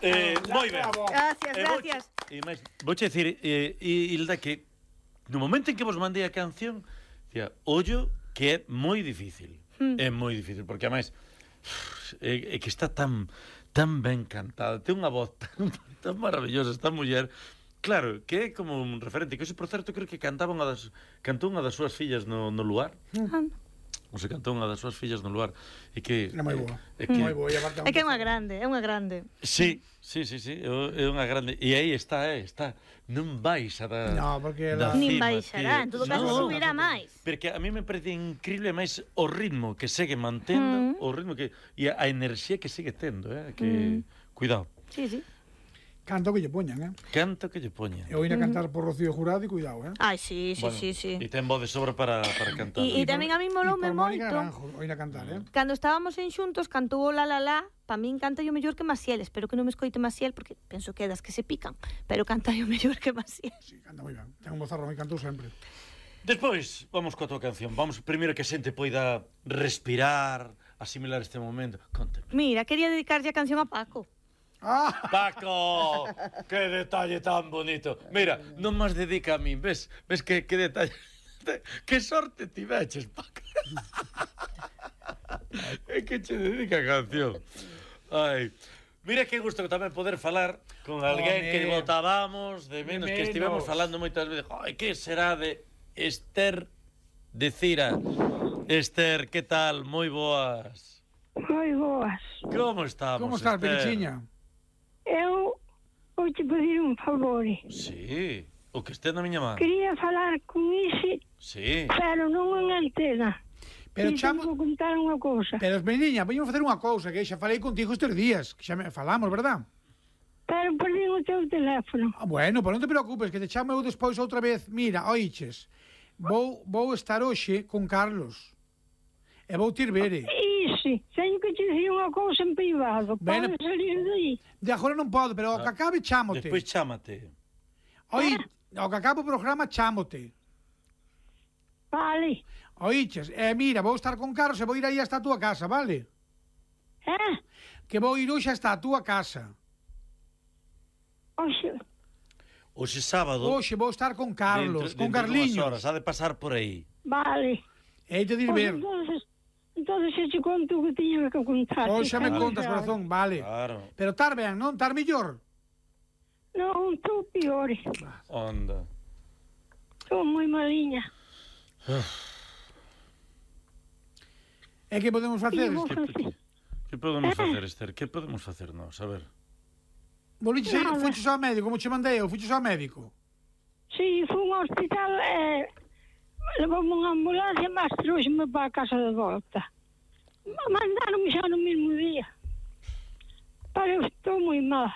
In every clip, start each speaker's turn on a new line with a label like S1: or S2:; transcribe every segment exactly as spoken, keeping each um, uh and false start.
S1: Eh, moi ben.
S2: Gracias,
S1: Eh,
S2: gracias.
S1: E máis, vouche dicir, eh, Hilda, que no momento en que vos mandei a canción, dicía, ollo que é moi difícil. Mm. É moi difícil, porque ademais é, é que está tan tan ben cantada, ten unha voz tan, tan maravillosa esta muller. Claro, que é como un referente, que ese, por certo, creo que cantaba unha das, cantou unha das súas fillas no, no lugar. Mm. O se cantou unha das súas fillas no lugar e que
S3: é moi boa.
S1: É que
S3: moi boa,
S2: é que é unha grande, é unha grande.
S1: Sí, sí, sí, sí, é unha grande. E aí está, eh, está. Non baixa da
S3: No, porque
S1: da
S3: la...
S1: cima,
S2: nin baixará, en todo caso
S1: no,
S2: subirá máis.
S1: Porque a mí me parece increíble máis o ritmo que segue mantendo, mm. o ritmo que e a enerxía que segue tendo, eh, que mm. cuidado.
S2: Sí, sí.
S3: Canto que lle poñan, eh?
S1: Canto que lle poñan.
S3: Eu vine a cantar por Rocío Jurado e cuidado, eh?
S2: Ai, sí, sí,
S1: bueno,
S2: sí, sí.
S1: E ten voz de sobra para, para cantar.
S2: E, e tamén a mí moloume moito.
S3: Oír a cantar, eh?
S2: Cando estábamos en xuntos, cantou o La La La, pa min canta yo mellor que Maciel. Espero que non me escoite Maciel, porque penso que é das que se pican, pero canta yo mellor que Maciel.
S3: Sí, canta moi ben. Ten un bozarrón e cantou sempre.
S1: Despois, vamos coa tua canción. Vamos primeiro que a xente poida respirar, asimilar este momento. Conte.
S2: Mira, quería dedicarlle a canción a Paco.
S3: Ah.
S1: Paco, que detalle tan bonito. Mira, non máis dedica a min, ves? Ves que, que detalle. Que sorte tiveches, Paco. É que che dedica a canción. Ai. Mira que gusto tamén poder falar con alguén oh, que votábamos de menos, de menos, que estivemos falando moitas veces. Ai, que será de Esther de Cira? Esther, que tal? Moi boas.
S4: Moi boas.
S1: Como estamos,
S3: Como estás, Perichiña?
S4: Eu vou te pedir un favor.
S1: Sí, o que este na miña man.
S4: Quería falar con Isi,
S1: sí.
S4: pero non en antena.
S3: Pero
S4: e
S3: chamo...
S4: tengo que contar unha cousa.
S3: Pero, meniña, vamos facer unha cousa, que xa falei contigo estes días, que xa me falamos, verdad?
S4: Pero perdí o teu teléfono.
S3: Ah, bueno, pero non te preocupes, que te chamo eu despois outra vez. Mira, oiches, vou, vou estar hoxe con Carlos. E vou te ir vere.
S4: Isi, teño que te dicir unha cousa en privado.
S3: Bueno,
S4: podes salir de aí.
S3: De agora non podo, pero ao que acabe chámote.
S1: Despois chámate.
S3: Oi, ao que acabe o programa chámote.
S4: Vale.
S3: Oiches, eh, mira, vou estar con Carlos e vou ir aí hasta a túa casa, vale?
S4: Eh?
S3: Que vou ir hoxe hasta a túa casa.
S4: Oxe.
S1: Hoxe sábado.
S3: Hoxe vou estar con Carlos,
S1: dentro,
S3: con
S1: dentro
S3: Carliños.
S1: Horas, ha de pasar por aí.
S4: Vale.
S3: E te dir ver.
S4: Entonces, entonces eu te conto o que tiña que contar.
S3: Hoxe me
S1: Vale.
S3: contas, corazón, vale.
S1: Claro.
S3: Pero tar ben, non? Tar millor.
S4: Non, estou pior.
S1: Onda.
S4: Estou moi maliña.
S3: E que podemos facer?
S4: Vou
S1: Que,
S4: facer.
S1: que, que podemos facer, Esther? Que podemos facer nós? A ver.
S3: Boliches,
S4: Nada.
S3: fuches ao médico, como che mandei eu, fuches ao médico.
S4: Si, fui ao hospital e... Eh, levou-me unha ambulancia, mas trouxe-me para a casa de volta. Mandaron-me xa no mesmo día. Pero eu estou moi mal.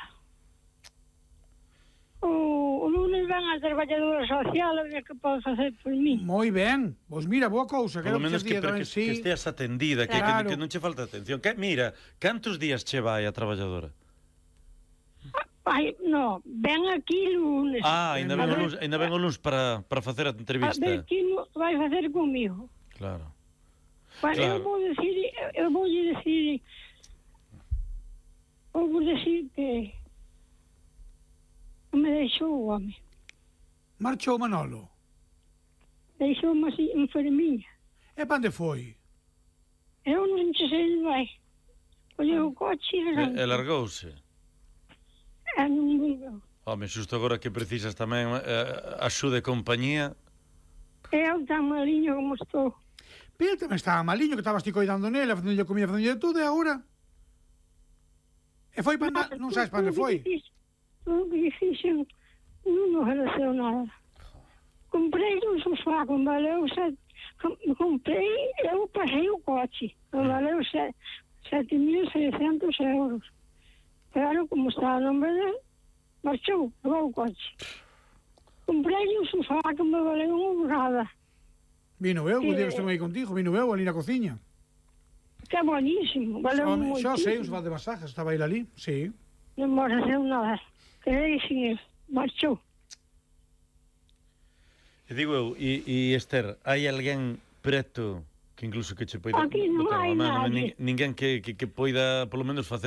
S4: O, o lunes ven a traballadora social a ver que pode facer por mí.
S3: Moi ben. Pois mira, boa cousa.
S1: Polo menos que,
S3: día
S1: que,
S3: tamén,
S1: que,
S3: sí.
S1: que esteas atendida, que,
S3: Claro.
S1: que, que non che falta atención. Que, mira, cantos días che vai a traballadora?
S4: Ai, no, ven aquí lunes.
S1: Ah, ainda ven o
S4: A ver-
S1: luns, ainda ven o luns para, para facer a
S4: A
S1: entrevista.
S4: ver que no vai facer comigo.
S1: Claro.
S4: Bueno,
S1: Claro.
S4: eu vou decir, eu vou decir, eu vou decir que me deixou o home.
S3: Marchou Manolo.
S4: Deixou-me así enfermiña.
S3: E pa onde foi?
S4: Eu non te sei onde vai. Colleu o coche e
S1: E,
S4: arrancou.
S1: e largouse.
S4: E non volveu.
S1: Home, xusto agora que precisas tamén eh, axuda e compañía.
S4: Eu tan maliño como estou.
S3: Pero tamén estaba maliño, que estabas ti coidando nele, facendo comida, facendo todo, e agora? E foi pa andar, non sabes pa onde foi?
S4: Tudo que difícil non me ofereceu nada. Comprei un sofá que valeu sete... Comprei, eu passei o coche. Que valeu sete mil e seiscentos euros. Pero como estaba no nombre dele, marchou, levou o coche. Comprei un sofá que me valeu unha borrada.
S3: Vino eu, o
S4: Sí.
S3: día que estuve aí contigo, vino eu ali na cociña.
S4: Que é buenísimo, valeu
S3: Home, xa sei, un
S4: moitísimo.
S3: sofá de masajes, estaba ele ali, sí.
S4: Non me ofereceu nada. Quedei sin él, marchou.
S1: E digo eu, e, e Esther, hai alguén preto que incluso que che poida
S4: Aquí non
S1: botar
S4: hai
S1: unha mano,
S4: nadie.
S1: nin- ninguén que, que, que poida polo menos facer